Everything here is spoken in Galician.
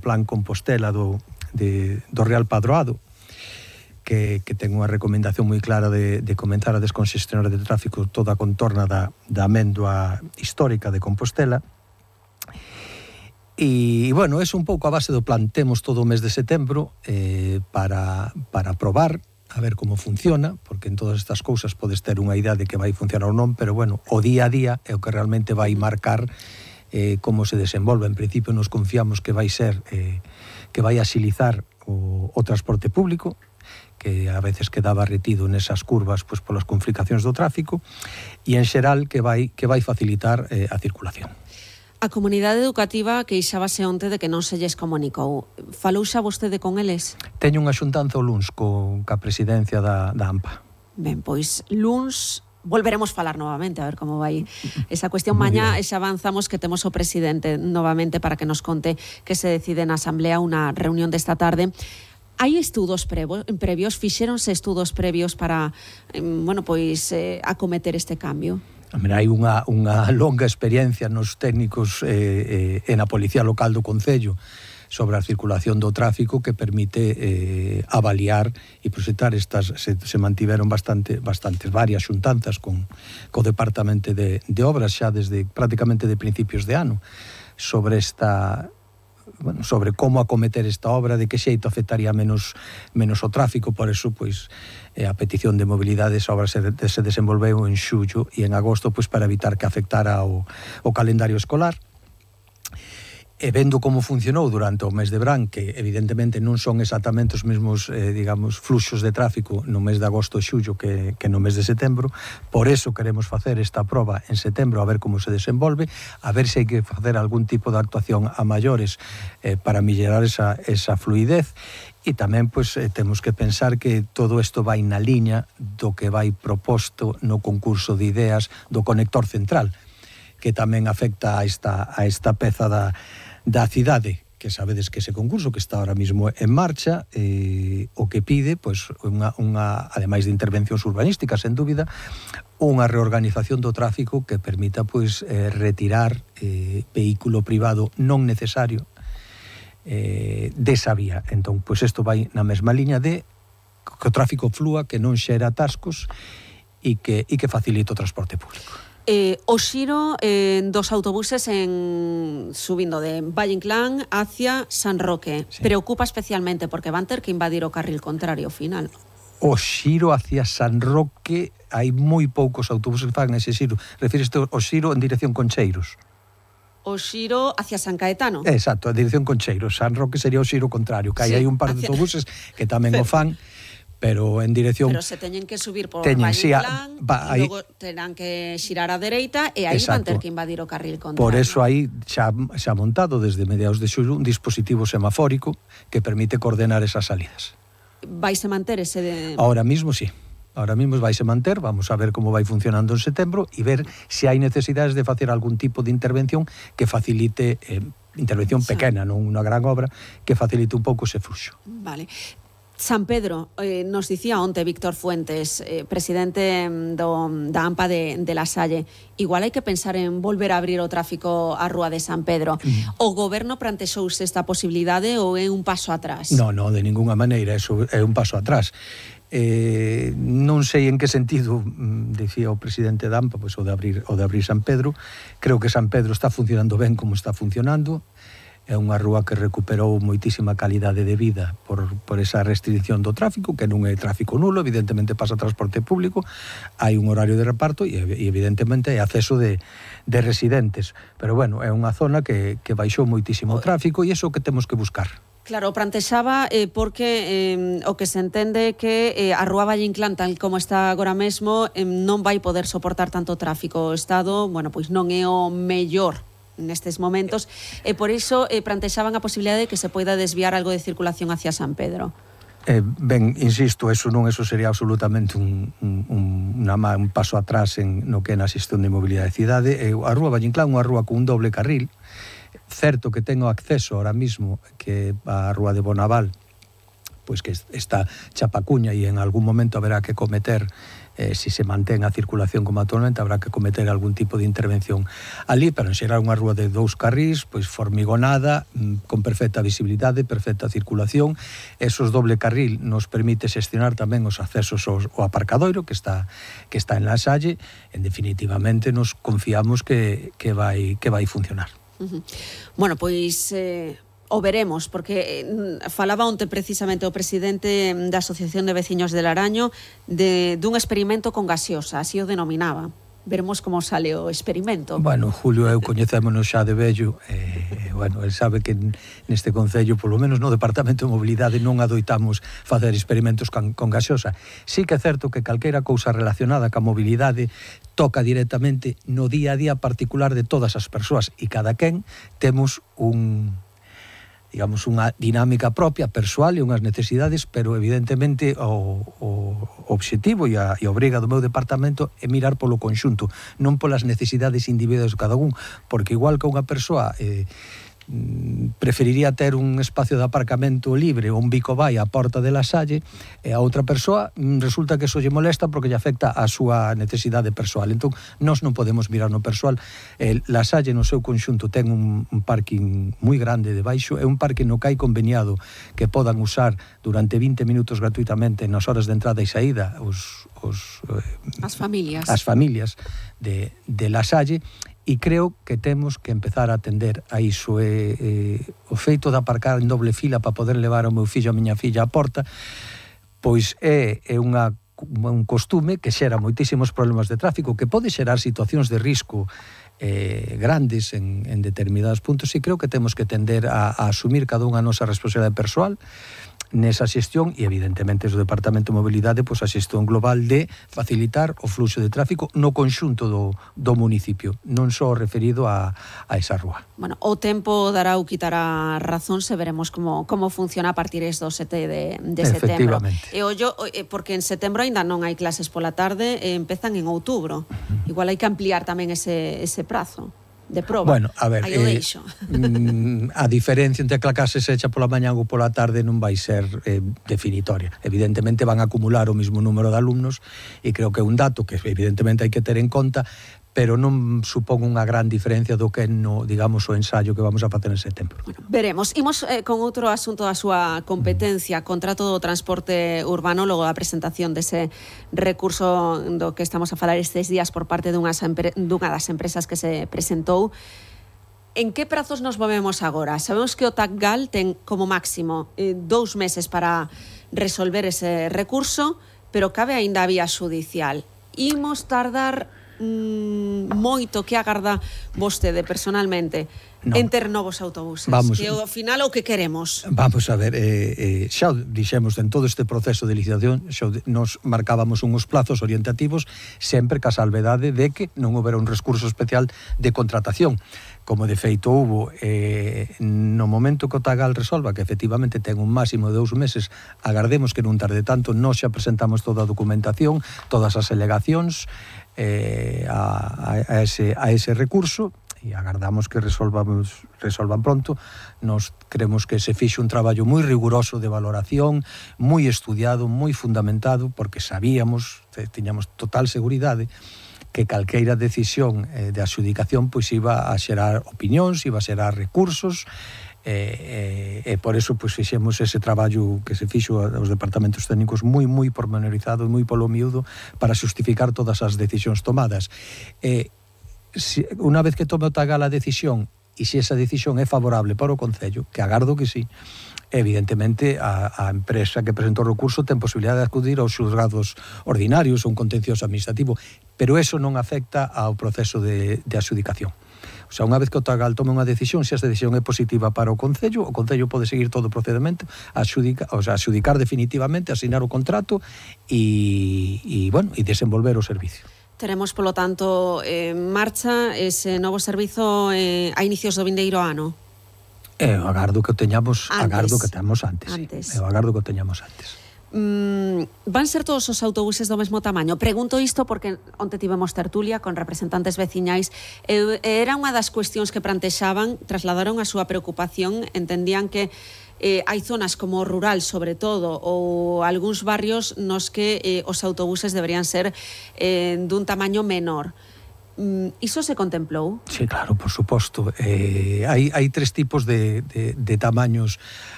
Plan Compostela do Real Padroado, que ten unha recomendación moi clara de comenzar a descongestionar de tráfico toda a contorna da amendua histórica de Compostela. E, bueno, é un pouco a base do plan. Temos todo o mes de setembro para probar, a ver como funciona, porque en todas estas cousas podes ter unha idea de que vai funcionar ou non, pero, bueno, o día a día é o que realmente vai marcar como se desenvolve. En principio nos confiamos que vai ser, que vai axilizar o transporte público, que a veces quedaba retido nesas curvas pois polas complicacións do tráfico, e en xeral que vai facilitar a circulación. A comunidade educativa queixábase onte de que non se lles comunicou. Falou xa vostede con eles? Teño unha xuntanza o luns ca presidencia da AMPA. Ben, pois luns volveremos falar novamente, a ver como vai esa cuestión. Mañá xa avanzamos que temos o presidente novamente para que nos conte que se decide na Asamblea unha reunión desta tarde. Hai estudos previos, fixéronse estudos previos para, acometer este cambio? Hai unha longa experiencia nos técnicos e na Policía Local do Concello sobre a circulación do tráfico que permite avaliar e proxectar estas. Se mantiveron varias xuntanzas co Departamento de Obras xa desde prácticamente de principios de ano sobre sobre como acometer esta obra, de que xeito afectaría menos o tráfico. Por eso, pois, a petición de mobilidade, esa obra se desenvolveu en xullo e en agosto, pois, para evitar que afectara o calendario escolar. E vendo como funcionou durante o mes de verán, que evidentemente non son exactamente os mesmos, fluxos de tráfico no mes de agosto e xullo que no mes de setembro, por eso queremos facer esta proba en setembro, a ver como se desenvolve, a ver se hai que facer algún tipo de actuación a maiores para mellorar esa fluidez. E tamén, pois, temos que pensar que todo isto vai na liña do que vai proposto no concurso de ideas do conector central, que tamén afecta a esta peza da cidade, que sabedes que ese concurso que está ahora mismo en marcha, o que pide, pois, ademais de intervencións urbanísticas, sen dúbida, unha reorganización do tráfico que permita, pois, retirar vehículo privado non necesario desa vía. Entón, pois, isto vai na mesma liña de que o tráfico flúa, que non xera atascos e que facilite o transporte público. O xiro dos autobuses subindo de Valle Inclán hacia San Roque, sí, preocupa especialmente porque van ter que invadir o carril contrario ao final. O xiro hacia San Roque, hai moi poucos autobuses que fan ese xiro. Refíreste ao xiro en dirección Concheiros? O xiro hacia San Caetano? Exacto, a dirección Concheiros. San Roque sería o xiro contrario, que hai un par de autobuses que tamén o fan, pero en dirección... Pero se teñen que subir por Valle Inclán, e logo terán que xirar á dereita, e aí van ter que invadir o carril contrario. Por eso aí xa montado desde mediados de xullo un dispositivo semafórico que permite coordenar esas salidas. Vaise manter ese... Ahora mismo sí. Ahora mismo vaise manter, vamos a ver como vai funcionando en setembro e ver se hai necesidades de facer algún tipo de intervención que facilite, intervención pequena, non unha gran obra, que facilite un pouco ese fluxo. Vale. San Pedro, nos dicía onte Víctor Fuentes, presidente da AMPA de La Salle, igual hai que pensar en volver a abrir o tráfico á rúa de San Pedro. O goberno plantexouse esta posibilidade ou é un paso atrás? Non, de ninguna maneira, eso é un paso atrás. Non sei en que sentido decía o presidente da AMPA, pois o de abrir San Pedro. Creo que San Pedro está funcionando ben como está funcionando. É unha rúa que recuperou moitísima calidade de vida por esa restricción do tráfico, que non é tráfico nulo, evidentemente pasa transporte público, hai un horario de reparto e evidentemente hai acceso de residentes. Pero, bueno, é unha zona que baixou moitísimo o tráfico e iso que temos que buscar. Claro, plantexaba porque o que se entende que a rúa Valle Inclán, tal como está agora mesmo, non vai poder soportar tanto tráfico. O Estado, pois non é o mellor nestes momentos, e por iso plantexaban a posibilidade de que se poida desviar algo de circulación hacia San Pedro. Ben, insisto, eso sería absolutamente un paso atrás no que é na xestión de mobilidade de cidade. A rúa Valle Inclán é unha rúa con un doble carril, certo que tengo acceso ahora mismo que a rúa de Bonaval pois que esta chapacuña e en algún momento haberá que cometer, si se mantén a circulación como actualmente, habrá que cometer algún tipo de intervención ali, pero en xeral unha rúa de 2 carrís, pois formigonada, con perfecta visibilidade, perfecta circulación. Esos doble carril nos permite xestionar tamén os accesos ao aparcadoiro que está en La Salle. En definitivamente nos confiamos que vai funcionar. Bueno, pois o veremos, porque falaba onte precisamente o presidente da Asociación de Veciños de Laraño dun experimento con gaseosa, así o denominaba. Veremos como sale o experimento. Bueno, Julio, eu coñecémonos xa de vello, bueno, el sabe que neste concello, polo menos no Departamento de Mobilidade, non adoitamos facer experimentos con gaseosa. Sí que é certo que calquera cousa relacionada ca mobilidade toca directamente no día a día particular de todas as persoas, e cada quen temos digamos, unha dinámica propia, persoal e unhas necesidades, pero evidentemente o obxectivo e a obriga do meu departamento é mirar polo conxunto, non polas necesidades individuais de cada un, porque igual que unha persoa preferiría ter un espacio de aparcamento libre ou un bico vai á porta de La Salle, e a outra persoa resulta que eso lle molesta porque lle afecta a súa necesidade persoal. Entón, nós non podemos mirar no persoal. La Salle no seu conxunto ten un parking moi grande debaixo, é un parque no que hai conveniado que podan usar durante 20 minutos gratuitamente nas horas de entrada e saída as familias de La Salle. E creo que temos que empezar a atender a iso. O feito de aparcar en doble fila para poder levar o meu fillo e a miña filla á porta, pois é un costume que xera moitísimos problemas de tráfico, que pode xerar situacións de risco grandes en determinados puntos, e creo que temos que tender a asumir cada unha a nosa responsabilidade persoal nesa xestión, e evidentemente o Departamento de Mobilidade, pois a xestión global de facilitar o fluxo de tráfico no conxunto do municipio, non só referido a esa rúa. Bueno, o tempo dará ou quitará razón, se veremos como funciona a partir do 7 de setembro. E ollo, porque en setembro ainda non hai clases pola tarde, empezan en outubro. Igual hai que ampliar tamén ese prazo de proba. Bueno, a ver, a diferencia entre que a clase se echa pola mañá ou pola tarde non vai ser definitoria. Evidentemente van a acumular o mismo número de alumnos, e creo que é un dato que evidentemente hai que ter en conta, pero non supón unha gran diferencia do que no, digamos, o ensaio que vamos a facer en setembro. Bueno, veremos. Imos con outro asunto da súa competencia, contrato do transporte urbano, logo da presentación dese recurso do que estamos a falar estes días por parte dunha das empresas que se presentou. En que prazos nos movemos agora? Sabemos que o TACGAL ten como máximo 2 meses para resolver ese recurso, pero cabe aínda a vía xudicial. Imos tardar moito? Que agarda vostede personalmente en ter novos autobuses? Que ao final o que queremos. Vamos a ver, xa dixemos en todo este proceso de licitación, nos marcábamos uns plazos orientativos sempre ca salvedade de que non houbera un recurso especial de contratación, como de feito hubo. No momento que o TACGAL resolva que efectivamente ten un máximo de 2 meses, agardemos que non tarde tanto. Nós xa presentamos toda a documentación, todas as alegacións a ese recurso, e agardamos que resolvan pronto. Nos creemos que se fixe un traballo moi riguroso de valoración, moi estudiado, moi fundamentado, porque sabíamos, tiñamos total seguridade que calqueira decisión de adxudicación pois iba a xerar opinións, iba a xerar recursos, e por eso pois fixemos ese traballo que se fixo aos departamentos técnicos moi pormenorizado, moi polo miúdo, para xustificar todas as decisións tomadas. Unha vez que tome o TACGAL a decisión, e se esa decisión é favorable para o Concello, que agardo que sí, evidentemente a empresa que presentou o recurso ten posibilidade de acudir aos xulgados ordinarios ou un contencioso administrativo, pero eso non afecta ao proceso de adxudicación. O sea, unha vez que o TACGAL tome unha decisión, se esa decisión é positiva para o Concello pode seguir todo o procedimento, adxudicar definitivamente, asinar o contrato e desenvolver o servicio. Teremos, polo tanto, en marcha ese novo servizo a inicios do vindeiro ano? Eu agardo que o teñamos antes. Eu agardo que o teñamos antes. Van ser todos os autobuses do mesmo tamaño? Pregunto isto porque onte tivemos tertulia con representantes veciñais. Era unha das cuestións que plantexaban, trasladaron a súa preocupación, entendían que hai zonas como rural, sobre todo, ou algúns barrios nos que os autobuses deberían ser dun tamaño menor. Iso se contemplou? Sí, claro, por suposto. Hai tres tipos de tamaños